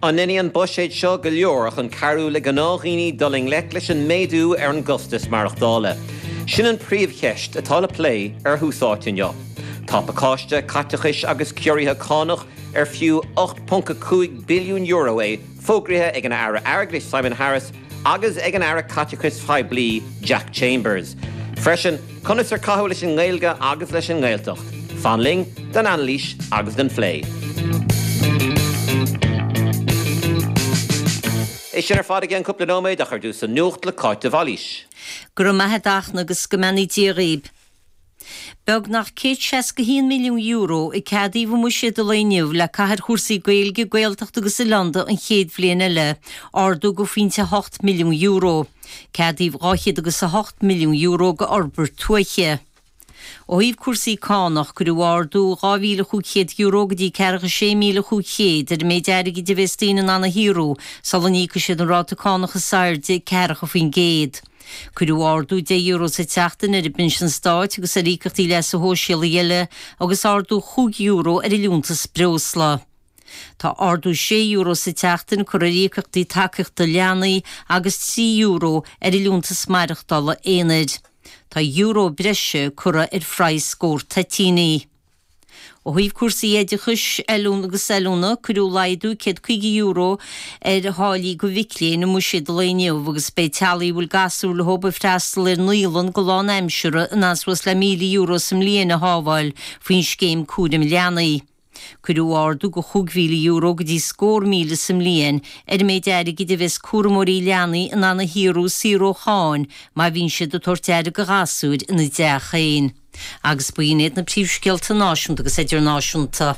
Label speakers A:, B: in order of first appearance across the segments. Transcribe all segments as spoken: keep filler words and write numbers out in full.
A: An ndéanfaidh an buiséad seo go leor chun cabhrú le gnáthdhaoine dul i ngleic leis an méadú ar an gcostas maireachtála. Sin an príomhcheist atá le plé ar Thús Áite inniu. Tá pacáiste caiteachais agus ciorruithe cánach ar fiú ocht ponc a cúig billiún euro é fógraithe ag an Aire Airgeadais Simon Harris agus ag an Aire Caiteachais Phoiblí Jack Chambers. Freisin, conas ar caitheadh leis an nGaeilge agus leis an nGaeltacht. Fan linn don anailís agus don phlé. É sin ar fad i gceann cúpla nóiméad ach ar dtús an nuacht le Cáit de Bhailís.
B: Go raibh maith a't a Fhachtna agus go mbeannaí Dia dhaoib. Beagnach céad seasca haon milliún euro a ceadaíodh i mbuiséad an lae inniu le caitheamh ar chúrsaí Gaeilge, Gaeltachta agus Oileánda an chéad bhliain eile, ardú de phointe a hocht milliún euro. Ceadaíodh dhá chéad agus a hocht milliún euro do fhorbairt tuaithe. Ó thaobh cúrsaí cánach, cuireadh ardú dhá mhíle chúig chéad euro go dtí ceathracha sé míle chúig chéad ar an méid airgid a bheas daoine in ann a shaothrú sula n-íocfaidh siad an ráta cánach is airde, ceathracha faoin gcéad. Cuireadh ardú deich euro sa tseachtain ar an bpinsean stáit agus ar íocaíochtaí leasa shóisialaigh eile agus ardú chúig euro ar an liúntas breosla. Tá ardú sé euro sa tseachtain curtha ar íocaíochtaí tacaíochta leanaí agus trí euro ar an liúntas maireachtála aonair. Tá euro breise curtha ar phraghas scór toitíní. Ó thaobh cúrsaí oideachais, oiliúna agus oiliúna, cuireadh laghdú céad caoga euro ar tháillí do mhic léinn i mbuiséad an lae inniu agus beidh teaghlaigh a bhfuil gasúir leo ag freastal ar naíolann go lánaimseartha in ann suas le míle euro sa mbliain a shábháil faoin scéim cúraim leanaí. Cuireadh ardú de chúig mhíle euro go dtí scór míle sa mbliain ar an méid airgid a bheas cúramóirí leanaí in ann a shaothrú saor ó cháin má bhíonn siad ag tabhairt aire do ghasúir ina dteach féin. Agus b'in iad na príomhscéalta náisiúnta agus idirnáisiúnta.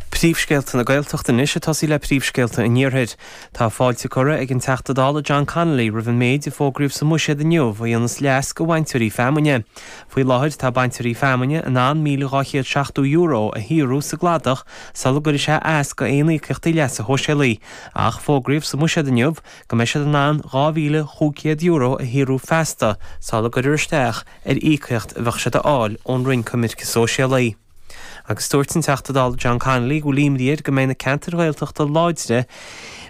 C: Príomhscéalta na Gaeltachta anois ag tosaí le príomhscéalta an Iarthair. Tá fáilte curtha ag an Teachta Dála John Connolly roimh an méid a fógraíodh sa mBuiséad inniu a dhéanfas leas do bhainteoirí feamainne. Faoi láthair tá bainteoirí feamainne in ann míle dhá chéad seachtó euro a shaothrú sa gcladach sula gcuirfidh sé as go aon íocaíochtaí leasa shóisialaigh, ach fógraíodh sa mBuiséad inniu go mbeidh siad in ann dhá mhíle chúig chéad euro a shaothrú feasta sula gcuirfear isteach ar íocaíocht a bheadh siad a fháil ón Roinn Coimirce Sóisialaí. Agus dúirt an Teachta Dála John Connolly go bhfuil imní air go mbeidh na ceantair Ghaeltachta láidre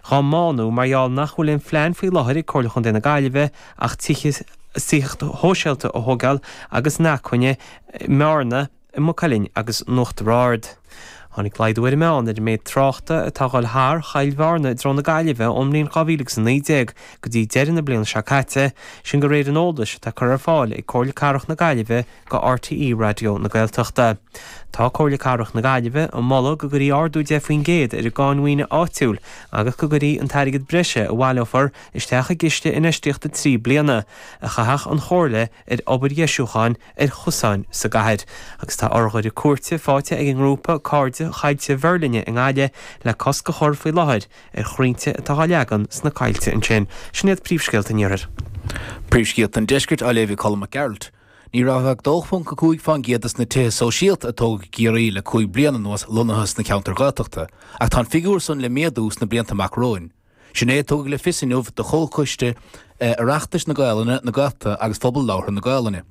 C: dhá mbánú mar gheall nach bhfuil aon phlean faoi láthair ag Comhairle Chontae na Gaillimhe ach tithe tithíocht shóisialta a thógáil agus inacmhainne i mBearna, i Maigh Cuilinn agus in Uachtar Ard. Tháinig laghdú ar an meán ar an méid tráchta atá ag dul thar Choill Bhearna i dtreo na Gaillimhe ón mbliain dhá mhíle agus a naoi déag go dtí deireadh na bliana seo caite, sin de réir an eolais atá curtha ar fáil ag Comhairle Cathrach na Gaillimhe go RTÉ Raidió na Gaeltachta. Tá Comhairle Cathrach na Gaillimhe ag moladh go gcuirfí ardú deich faoin gcéad ar an gcáin mhaoine áitiúil agus go gcuirfí an t-airgead breise a bhaileofar isteach i gciste infheistíochta trí bliana a chaithfeadh an Chomhairle ar obair dheisiúcháin ar chosáin sa gcathair. Agus tá urghaire cúirte faighte ag an ngrúpa Cairde Choillte Mheirlinne i nGaillimh le cosc a chur faoi láthair ar chrainnte atá á leagan sna coillte ansin. Sin iad príomhscéalta an Iarthair.
D: Príomhscéalta an Deiscirt á léamh ag Colm Mac Gearailt. Ní raibh ach dó ponc a cúig fán gcéad des na tithe sóisialta a tógadh i gCiarraí le cúig bliana anuas lonnaithe sna ceantair Ghaeltachta, ach tá an figiúr san le méadú sna blianta amach romhainn. Sin é a tugadh le fios inniu do Chomhchoiste Oireachtais na Gaelainne, na Gaeltachta agus Phobal Labhartha na Gaelainne.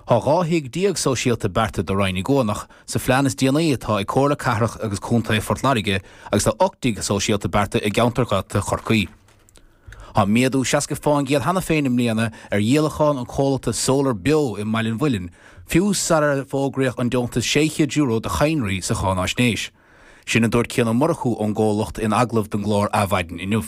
D: Tá dhá thigh déag sóisialta beartaithe do Rinn Uí gCuanach sa phlean is déanaí atá ag Comhairle Cathrach agus Contae Phort Láirge agus tá ocht dtigh sóisialta beartaithe i gceantar Gaeltachta Chorcaí. Tá méadú seasca fán gcéad cheana féin i mbliana ar dhíolachán an chomhlachta Solar Beo i mBaile an Mhuilinn, fiú sarar fógraíodh an deontas sé chéad euro do chadhnraí sa cháináisnéis. Sin a dúirt Cian Ó Murchú ón gcomhlacht in agallamh don gclár Adhmhaidin inniu.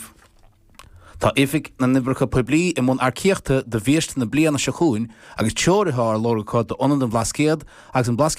D: Tá Oifig na nOibreacha Poiblí i mbun earcaíochta do bhiaiste na bliana seo chugainn agus treoraithe á lorg acu d'Ionad an Bhlascaoid agus an Blascaod